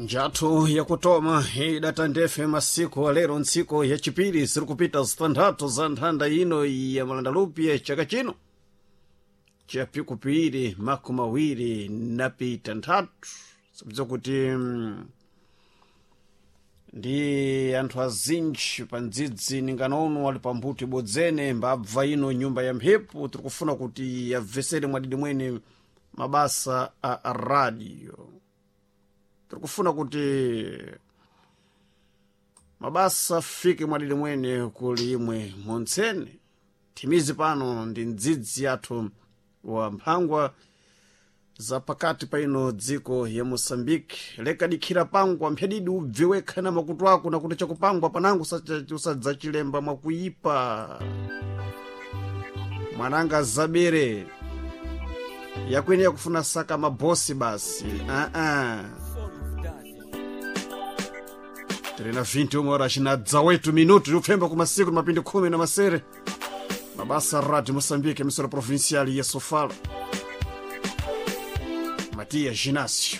Njathu yakutoma idata ndefe masiku alero ntsiku yachipiri ziri kupita zitanthatu za nthanda ino ya malandalupi chaka chino chapikupiri 20 napita nthatu sabza kuti ndi anthu azinji pa ndzidzi ninganono ali pambuto ibodzene mbabva ino nyumba ya mphepo tirikufuna kuti yabvesere mwadidi mwene mabasa a radio. Tirikufuna kuti mabasa afike mwadidi mwene kuli imwe montsene thimizi pano ndi ndzidzi yathu wa mphangwa za pakati pa ino dziko ya Moçambique. Lekadikhira pangwa mphedidi ubve wekha na makutu ako nakuti chakupangwa panango usadzachilemba mwakuipa mwananga zabere yakwene yakufuna saka mabosi basi aa tiri na 21 horas na 18 minutos upfemba kumasiku mapindi khumi na masere mabasa Radio Moçambique, emissora provincial ya Sofala. Matias Ginácio.